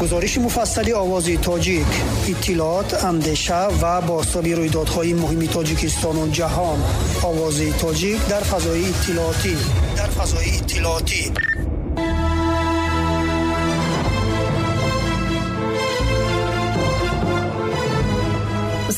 Гузориши муфассали Овози Тоҷик, иттилоот, андеша ва бозтоби рӯйдодҳои муҳими Тоҷикистону ҷаҳон. Овози Тоҷик дар фазои иттилоотӣ. Дар фазои иттилоотӣ.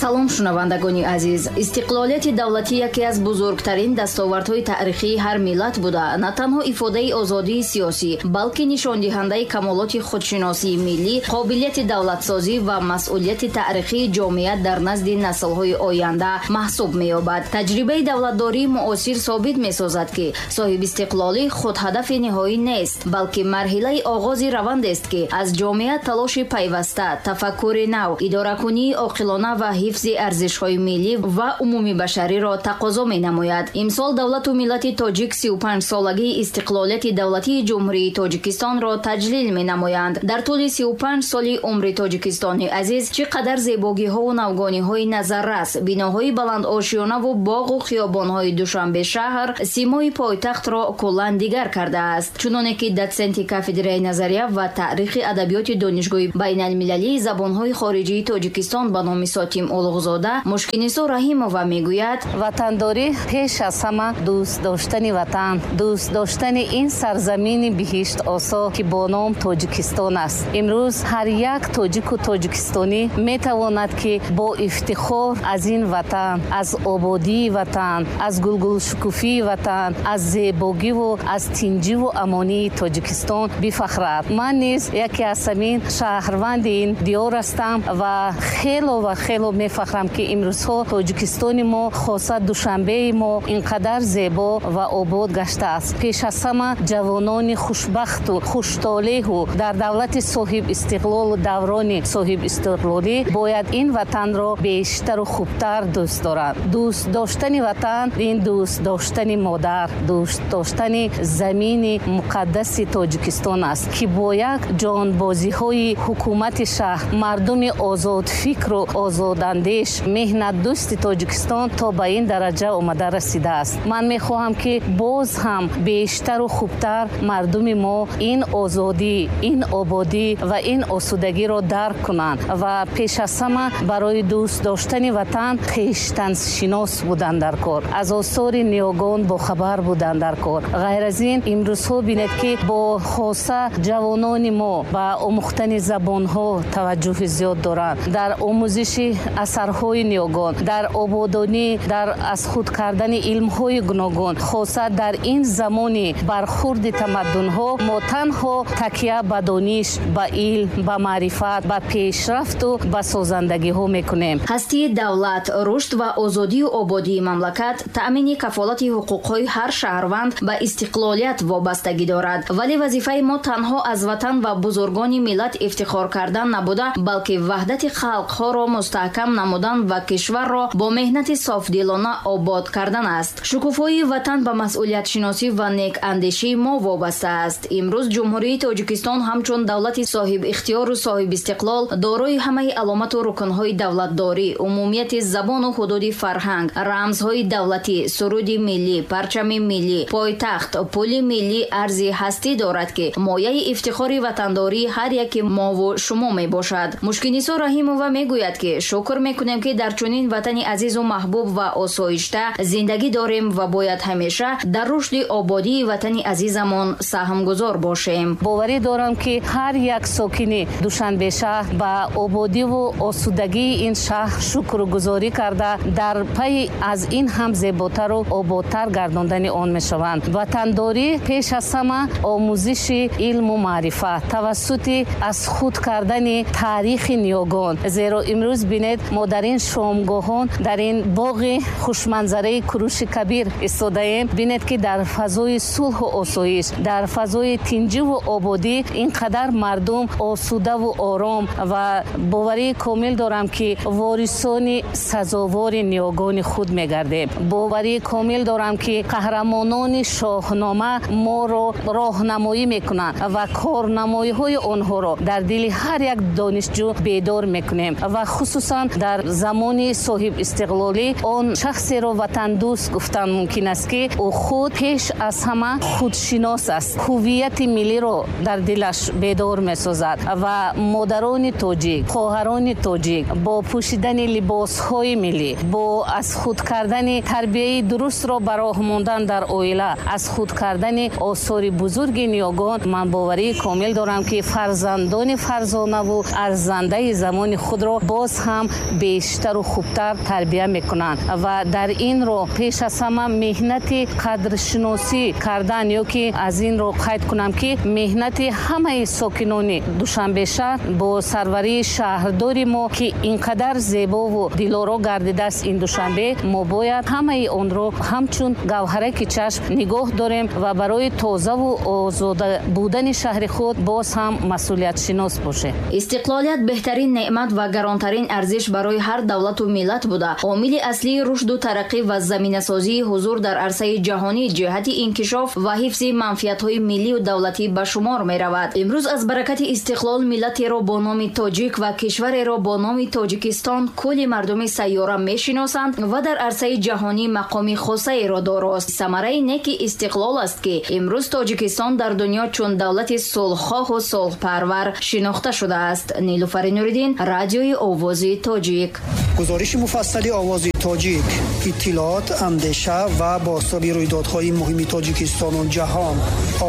Салом, шунавандагони азиз. Истиқлолияти давлатӣ яке аз бузургтарин дастовардҳои таърихии ҳар миллат буда, на танҳо ифодаи озодии сиёсӣ, балки нишондиҳандаи камолоти худшиносии миллӣ, қобилияти давлатсозӣ ва масъулияти таърихии ҷомеа дар назди наслҳои оянда маҳсуб меёбад. Таҷрибаи давлатдории муосир собит месозад, ки соҳибистиқлолӣ худ ҳадафи ниҳоӣ нест, балки марҳилаи оғози равандест, ки аз ҷомеа талоши пайваста, тафаккури нав, идоракунии оқилона ва ҳифзи арзишҳои миллӣ ва умумибашариро тақозо менамояд. Имсол давлату миллати тоҷик 35-солагии истиқлолияти давлатии Ҷумҳурии Тоҷикистонро таҷлил менамоянд. Дар тӯли 35 соли умри Тоҷикистони азиз чӣ қадар зебогиҳову навгониҳои назаррас, биноҳои баландошёнаву боғу хиёбонҳои Душанбе шаҳр симои пойтахтро куллан дигар кардааст. Чуноне ки дотсенти кафедраи назария ва таърихи адабиёти Донишгоҳи байналмилалии забонҳои хориҷии Тоҷикистон ба номи Сотим Улуғзода Мушкинисо Раҳимова мегӯяд: ватандорӣ пеш аз ҳама дӯст доштани ватан, дӯст доштани ин сарзамини биҳиштосо, ки бо ном Тоҷикистон аст. Имрӯз ҳар як тоҷику тоҷикистонӣ метавонад, ки бо ифтихор аз ин ватан, аз ободии ватан, аз гулгулшукуфии ватан, аз зебогиву аз тинҷиву амонии Тоҷикистон бифахрад. Ман низ яке аз ҳамин шаҳрванди ин диёр ҳастам ва хело ва хело мефахрам, ки имрӯзҳо Тоҷикистони мо, хоса Душанбеи мо, ин қадар зебо ва обод гаштааст. Пеш аз ҳама ҷавонони хушбахту хуштолеҳу дар давлати соҳибистиқлолу даврони соҳибистиқлолӣ бояд ин ватанро бештару хубтар дӯст доранд. Дӯст доштани ватан ин дӯст доштани модар, дӯст доштани замини муқаддаси Тоҷикистон аст, ки бо як ҷонбозиҳои ҳукумати шаҳр, мардуми озодфикру озодандеш, меҳнатдӯсти Тоҷикистон то ба ин дараҷа омада расидааст. Ман мехоҳам, ки боз ҳам бештару хубтар мардуми мо ин озодӣ, ин ободӣ ва ин осудагиро дарк кунанд ва пеш аз ҳама барои дӯст доштани ватан хештаншинос будан дар кор, аз осори ниёгон бохабар будан дар кор. Ғайр аз ин, имрӯзҳо бинед, ки бо хоса ҷавонони мо ба омӯхтани забонҳо таваҷҷӯҳи зиёд доранд, дар омӯзиши асарҳои ниёгон, дар ободонӣ, дар аз худ кардани илмҳои гуногун. Хоса дар ин замони бархурди тамаддунҳо мо танҳо такя ба дониш, ба илм, ба маърифат, ба пешрафту ба созандагиҳо мекунем. Ҳастии давлат, рушд ва озодию ободии мамлакат, таъмини кафолати ҳуқуқҳои ҳар шаҳрванд ба истиқлолият вобастагӣ дорад. Вале вазифаи мо танҳо аз ватан ва бузургони миллат ифтихор кардан набуда, балки ваҳдати халқҳоро мустаҳкам намудан ва кишварро бо меҳнати софдилона обод кардан аст. Шукуфоии ватан ба масъулиятшиносӣ ва некандешии мо вобаста аст. Имрӯз Ҷумҳурии Тоҷикистон ҳамчун давлати соҳибихтиёру соҳибистиқлол дорои ҳамаи аломату рукнҳои давлатдорӣ, умумияти забону ҳудуди фарҳанг, рамзҳои давлатӣ, суруди миллӣ, парчами миллӣ, пойтахт, пули миллӣ, арзи ҳастӣ дорад, ки мояи ифтихори ватандории ҳар яки мову шумо мебошад. Мушкинисо Раҳимова мегӯяд, ки шукр мекунем, ки дар чунин ватани азизу маҳбуб ва осоишта зиндагӣ дорем ва бояд ҳамеша дар рушди ободии ватани азизамон саҳмгузор бошем. Боварӣ дорам, ки ҳар як сокини Душанбе шаҳр ба ободиву осудагии ин шаҳр шукргузорӣ карда, дар пайи аз ин ҳам зеботару ободтар гардондани он мешаванд. Ватандорӣ пеш аз ҳама омӯзиши илму маърифат тавассути аз худ кардани таърихи ниёгон. Зеро имрӯз бинед, мо дар ин шомгоҳон, дар ин боғи хушманзараи Куруши Кабир истодаем. Бинед, ки дар фазои сулҳу осоиш, дар фазои тинҷиву ободӣ ин қадар мардум осудаву ором, ва боварии комил дорам, ки ворисони сазовори ниёгони худ мегардем. Боварии комил дорам, ки қаҳрамонони Шоҳнома моро роҳнамоӣ мекунанд ва корнамоиҳои онҳоро дар дили ҳар як донишҷӯ бедор мекунем ва хусусан Дар замони соҳибистиқлолӣ он шахсеро ватандӯст гуфтан мумкин аст, ки ӯ худ пеш аз ҳама худшинос аст, ҳуввияти миллиро дар дилаш бедор месозад. Ва модарони тоҷик, хоҳарони тоҷик бо пӯшидани либосҳои миллӣ, бо аз худ кардани тарбияи дурустро ба роҳ мондан дар оила, аз худ кардани осори бузурги ниёгон, ман боварии комил дорам, ки фарзандони фарзонаву арзандаи замони худро боз ҳам бештару хубтар тарбия мекунанд. Ва дар ин роҳ пеш аз ҳама меҳнати қадршиносӣ кардан, ё ки аз ин роҳ қайд кунам, ки меҳнати ҳамаи сокинони Душанбешаҳр бо сарварии шаҳрдори мо, ки ин қадар зебову дилоро гардидааст ин Душанбе, мо бояд ҳамаи онро ҳамчун гавҳараки чашм нигоҳ дорем ва барои тозаву озода будани шаҳри худ боз ҳам масъулиятшинос бошем. Истиқлолият беҳтарин неъмат ва гаронтарин арзиш барои ҳар давлату миллат буда, омили аслии рушду тараққӣ ва заминасозии ҳузур дар арсаи ҷаҳонӣ ҷиҳати инкишоф ва ҳифзи манфиатҳои миллию давлатӣ ба шумор меравад. Имрӯз аз баракати истиқлол миллатеро бо номи тоҷик ва кишвареро бо номи Тоҷикистон кулли мардуми сайёра мешиносанд ва дар арсаи ҷаҳонӣ мақоми хосаеро дорост. Самараи неки истиқлол аст, ки имрӯз Тоҷикистон дар дунё чун давлати сулҳхоҳу сулҳпарвар шинохта шудааст. Нилуфари Нуриддин, радиои Овози Тоҷик. Гузориши муфассали Овози Тоҷик, иттилоот, андеша ва бозтоби рӯйдодҳои муҳими Тоҷикистону ҷаҳон.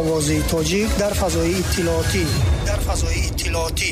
Овози Тоҷик дар фазои иттилоотӣ, дар фазои иттилоотӣ.